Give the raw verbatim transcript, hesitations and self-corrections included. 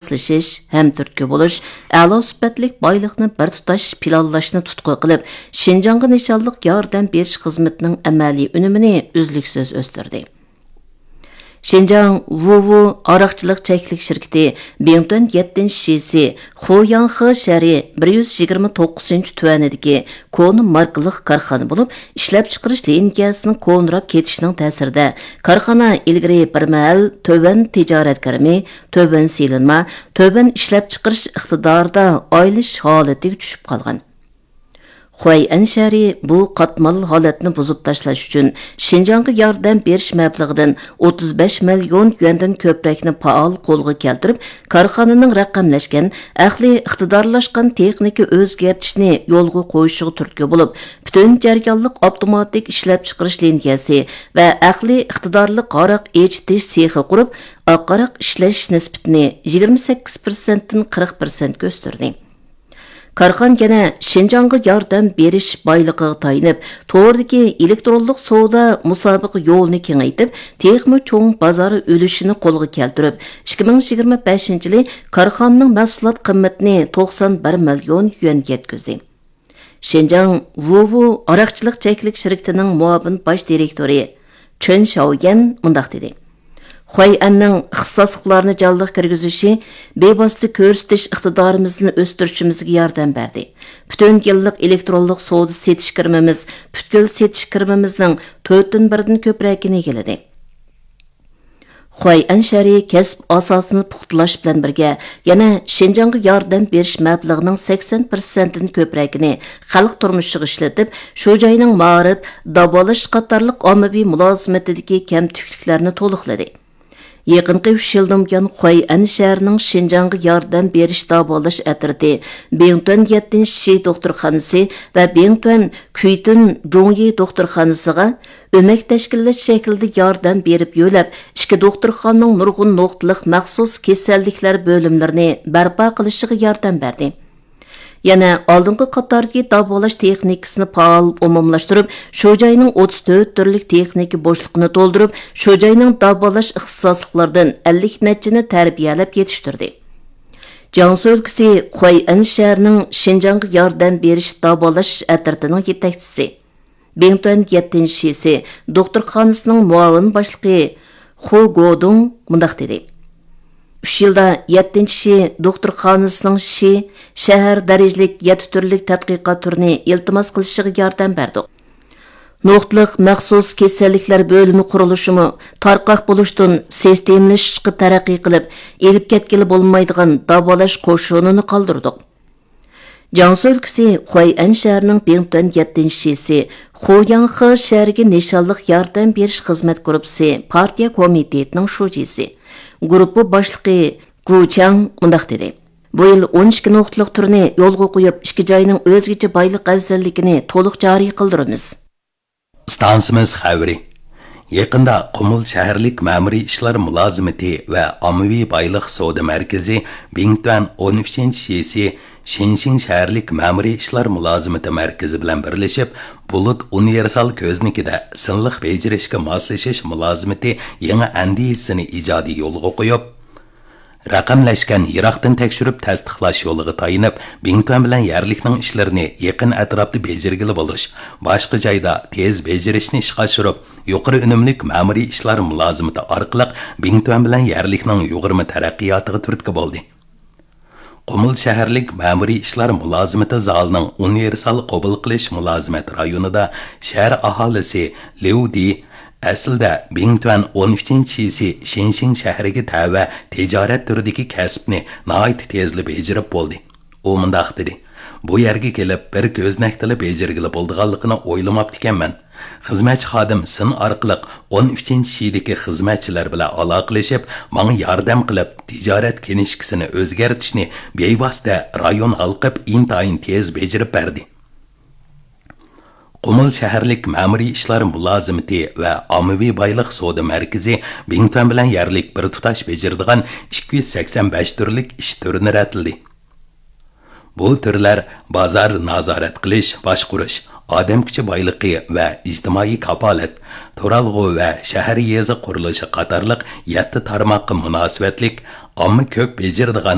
ماسلىشىش، ھەمتۈرتكە بولۇش، ئەلا سۈپەتلىك بايلىقنى بىر تۇتاش پىلانلاشنى تۇتقا قىلىپ، شىنجاڭغا نىشانلىق ياردەم بېرىش خىزمىتىنىڭ ئەمەلىي ئۈنۈمىنى ئۈزلۈكسىز ئۆستۈردى. شىنجاڭ ۋۇۋۇ ھاراقچىلىق چەكلىك شىركىتى بىڭتۈەن يەتتىنچى شىسى خۇياڭخې شەھىرى بىر يۈز يىگىرمە توققۇزىنچى تۈەنىدىكى كونا ماركىلىق كارخانا بولۇپ، ئىشلەپچىقىرىش لىنىيەسىنىڭ كونىراپ كېتىشىنىڭ تەسىرىدە، كارخانا ئىلگىرى بىر مەھەل تۆۋەن تىجارەت كىرىمى، تۆۋەن سېلىنما، تۆۋەن ئىشلەپچىقىرىش ئىقتىدارىدا ئايلىشىش ھالىتىگە چۈشۈپ قالغان. خۇەيئەن شەھىرى بۇ قاتماللىق ھالەتنى بۇزۇپ تاشلاش ئۈچۈن شىنجاڭغا ياردەم بېرىش مەبلىغىدىن ئوتتۇز بەش مىليون يۈەندىن كۆپرەكنى پائال قولغا كەلتۈرۈپ، كارخانىنىڭ رەقەملەشكەن، ئەقلىي ئىقتىدارلاشقان تېخنىكا ئۆزگەرتىشنى يولغا قويۇشىغا تۈرتكە بولۇپ، پۈتۈن جەريانلىق ئاپتوماتىك ئىشلەپچىقىرىش لىنىيەسى ۋە ئەقلىي ئىقتىدارلىق ھاراق ئېچىتىش سېخى قۇرۇپ، ئاق ھاراق ئىشلەش نىسبىتىنى يىگىرمە سەككىز پىرسەنتتىن قىرىق پىرسەنتكە ئۆستۈردى. كارخانا يەنە شىنجاڭغا ياردەم بېرىش بايلىقىغا تايىنىپ، توردىكى ئېلېكترونلۇق سودا مۇسابىقە يولىنى كېڭەيتىپ، تېخىمۇ چوڭ بازار ئۈلۈشىنى قولغا كەلتۈرۈپ، ئىككى مىڭ يىگىرمە بەشىنچى يىلى كارخانىنىڭ مەھسۇلات قىممىتىنى توقسان بىر مىليون يۈەنگە يەتكۈزدى. شىنجاڭ ۋۇۋۇ ھاراقچىلىق چەكلىك شىركىتىنىڭ مۇئاۋىن باش دىرېكتورى چېن شاۋيەن مۇنداق دېدى: خۇەيئەننىڭ ئىختىساسلىقلارنى جانلىق كىرگۈزۈشى بىۋاسىتە كۆرسىتىش ئىقتىدارىمىزنى ئۆستۈرۈشىمىزگە ياردەم بەردى. پۈتۈن يىللىق ئېلېكترونلۇق سودا سېتىش كىرىمىمىز پۈتكۈل سېتىش كىرىمىمىزنىڭ تۆتتىن بىرىدىن كۆپرەكىنى ئىگىلىدى. خۇەيئەن شەھىرى كەسىپ ئاساسىنى پۇختىلاش بىلەن بىرگە، يەنە شىنجاڭغا ياردەم بېرىش مەبلىغىنىڭ سەكسەن پىرسەنتتىن كۆپرەكىنى خەلق تۇرمۇشىغا ئىشلىتىپ، شۇ جاينىڭ مائارىپ، داۋالاش قاتارلىق ئاممىۋى مۇلازىمىتىدىكى كەمتۈكلۈكلەرنى تولۇقلىدى. يېقىنقى ئۈچ يىلدىن بۇيان، خۇەيئەن شەھىرىنىڭ شىنجاڭغا ياردەم بېرىش داۋالاش ئەترىتى بىڭتۈەن يەتتىنچى شى دوختۇرخانىسى ۋە بىڭتۈەن كۈيتۈن جۇڭيى دوختۇرخانىسىغا ئۆمەك تەشكىللەش شەكلىدە ياردەم بېرىپ يۆلەپ، ئىككى دوختۇرخانىنىڭ نۇرغۇن نۇقتىلىق مەخسۇس كېسەللىكلەر بۆلۈملىرىنى بەرپا قىلىشىغا ياردەم بەردى. يەنە ئالدىنقى قاتاردىكى داۋالاش تېخنىكىسىنى پائال ئومۇملاشتۇرۇپ، شۇ جاينىڭ ئوتتۇز تۆت تۈرلۈك تېخنىكا بوشلۇقىنى تولدۇرۇپ، شۇ جاينىڭ داۋالاش ئىختىساسلىقلىرىدىن ئەللىك نەچچىنى تەربىيەلەپ يېتىشتۈردى. جياڭسۇ ئۆلكىسى خۇەيئەن شەھىرىنىڭ شىنجاڭغا ياردەم بېرىش داۋالاش ئەترىتىنىڭ يېتەكچىسى، بىڭتۈەن يەتتىنچى شىسى دوختۇرخانىسىنىڭ مۇئاۋىن باشلىقى خۇ گودۇڭ مۇنداق دېدى: ئۈچ يىلدا يەتتىنچى شى دوختۇرخانىسىنىڭ شى شەھەر دەرىجىلىك يەتتە تۈرلۈك تەتقىقات تۈرىنى ئىلتىماس قىلىشىغا ياردەم بەردۇق. نۇقتىلىق مەخسۇس كېسەللىكلەر بۆلۈمى قۇرۇلۇشىمۇ تارقاق بولۇشتىن سىستېمىلىشىشقا تەرەققىي قىلىپ، ئېلىپ كەتكىلى بولمايدىغان داۋالاش قوشۇنىنى قالدۇردۇق. جياڭسۇ ئۆلكىسى خۇەيئەن شەھىرىنىڭ بىڭتۈەن يەتتىنچى شىسى خۇياڭخې شەھىرىگە نىشانلىق ياردەم بېرىش خىزمەت گۇرۇپپىسى پارتىيە كومىتېتىنىڭ شۇجىسى، گۇرۇپپا باشلىقى گۇ چياڭ مۇنداق دېدى: بۇ يىل ئون ئىككى نۇقتىلىق تۈرنى يولغا قويۇپ، ئىككى جاينىڭ ئۆزگىچە بايلىق ئەۋزەللىكىنى تولۇق جارى قىلدۇرىمىز. ئىستانسىمىز خەۋىرى. يېقىندا قۇمۇل شەھەرلىك مەمۇرىي ئىشلار مۇلازىمىتى ۋە ئاممىۋى بايلىق سودا مەركىزى بىڭتۈەن ئون ئۈچىنچى شىسى شىنشىڭ شەھەرلىك مەمۇرىي ئىشلار مۇلازىمىتى مەركىزى بىلەن بىرلىشىپ، بۇلۇت ئۇنىۋېرسال كۆزنىكىدە سىنلىق بېجىرىشكە ماسلىشىش مۇلازىمىتى يېڭى ئەندىزىسىنى ئىجادىي يولغا قويۇپ، رەقەملەشكەن يىراقتىن تەكشۈرۈپ تەستىقلاش يولىغا تايىنىپ، بىڭتۈەن بىلەن يەرلىكنىڭ ئىشلىرىنى يېقىن ئەتراپتا بېجىرگىلى بولۇش، باشقا جايدا تېز بېجىرىشنى ئىشقا ئاشۇرۇپ، يۇقىرى ئۈنۈملۈك مەمۇرىي ئىشلار مۇلازىمىتى ئارقىلىق بىڭتۈەن بىلەن يەرلىكنىڭ يۇغۇرما تەرەققىياتىغا تۈرتكە بولدى. قۇمۇل شەھەرلىك مەمۇرىي ئىشلار مۇلازىمىتى زالىنىڭ ئۇنىۋېرسال قوبۇل قىلىش مۇلازىمەت رايونىدا شەھەر ئاھالىسى ليۇ دى ئەسلىدە بىڭتۈەن ئون ئۈچىنچى شىسى شىنشىڭ شەھىرىگە تەۋە تىجارەت تۈرىدىكى كەسىپنى ناھايىتى تېزلا بېجىرىپ بولدى. ئۇ مۇنداق دېدى: بۇ يەرگە كېلىپ بىر كۆزنەكتىلا بېجىرگىلى بولىدىغانلىقىنى ئويلىماپتىكەنمەن. خىزمەتچى خادىم سىن ئارقىلىق ئون ئۈچىنچى شىدىكى خىزمەتچىلەر بىلەن ئالاقىلىشىپ، ماڭا ياردەم قىلىپ، تىجارەت كىنىشكىسىنى ئۆزگەرتىشنى بىۋاسىتە رايون ھالقىپ ئىنتايىن تېز بېجىرىپ بەردى. قۇمۇل شەھەرلىك مەمۇرىي ئىشلار مۇلازىمىتى ۋە ئاممىۋى بايلىق سودا مەركىزى بىڭتۈەن بىلەن يەرلىك بىر تۇتاش بېجىرىدىغان ئىككى يۈز سەكسەن بەش تۈرلۈك ئىش تۈرىنى رەتلىدى. بۇ تۈرلەر بازار نازارەت قىلىش، باشقۇرۇش، ئادەم كۈچى بايلىقى ۋە ئىجتىمائىي كاپالەت، تۇرالغۇ ۋە شەھەر يېزا قۇرۇلۇشى قاتارلىق يەتتە تارماققا مۇناسىۋەتلىك ئامما كۆپ بېجىرىدىغان